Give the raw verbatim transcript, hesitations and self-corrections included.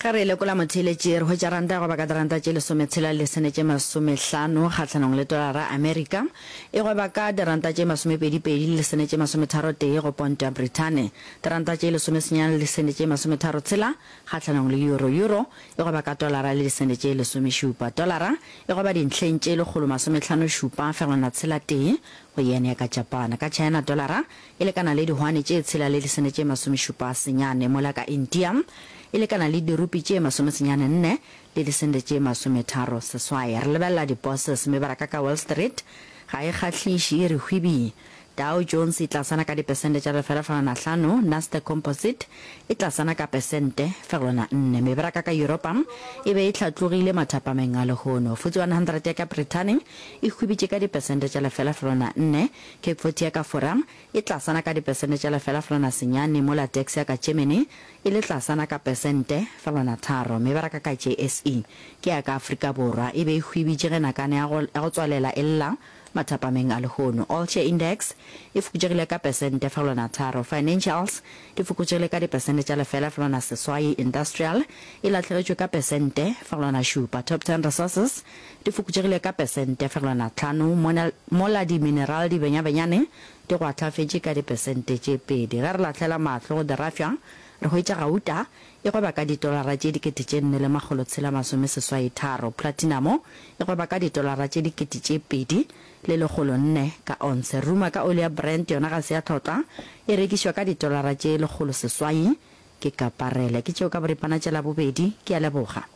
Ge re lekola motheeletši, re hwetša ranta ya go ba ka diranta tše lesometshela le lesene tše masomehlano kgahlanong le tolara Amerika. E gweba ka diranta tše masomepedi-pedi le lesene tše masometharo-tee go ponto ya Brithane. Diranta tše lesomesenyane le lesene tše masometharo-tshela kgahlanong le euro. Euro e gweba ka tolara le disene tše lesomešupa. Tolara e gweba dintlheng tše lekgolo masomehlano-šupa fegelwana tshela tee go yen ya ka Japan. Ka China tolara e lekana le dihwane tše tshela le disene tše masomešupa senyane, mola ka India e lekana le dirupi tše masomesenyane nne le disente tše masometharo seswai. Re lebelela di-bosses, mebaraka ka Wall Street ga e kgahliše, e re hwibii. Dow Jones e tlasana ka dipesente tša lefela fegelwana hlano, Nasdaq Composite e tlasana ka pesente fegelwana nne. Mebaraka ka Yuropa e be e hlatlogile mathapameng a lehono. F T S E hundred ya ka Brithani e hwibitše ka dipesente tša lefela fegelwana nne, CAC forty ya ka Fora e tlasana ka dipesente tša lefela fegelwana senyane, mola DAX ya ka Germany e le tlasana ka pesente fegelwana tharo. Mebaraka ka J S E ke ya ka Afrika Borwa e be e hwibitše ge nakane ya go, ya go tswalela e lla mathapameng a lehono. All Share Index e fokotšegile ka pesente fegelwana tharo. Financials di fokotšegile ka dipesente tša lefela fegelwana seswai. Industrial e lahlegetšwe ka pesente fegelwana šupa. Top ten Resources di fokotšegile ka pesente fegelwana hlano, mola di-mineral di benyabenyane di go ahlafetše ka dipesente tše pedi. Ge re lahlela mahlo go dirafša, re hwetša gauta e gweba ka ditolara tše dikete tše nne le makgolo tshela masome seswai tharo. Platinum e gweba ka ditolara tše dikete tše pedi le lekgolo nne ka onse. Ruma ka oli ya Brent yona ga se ya tlhotlwa, e rekišwa ka ditolara tše lekgolo seswai ke kaparele. Ke tšeo ka boripana tša Labobedi. Ke a leboga.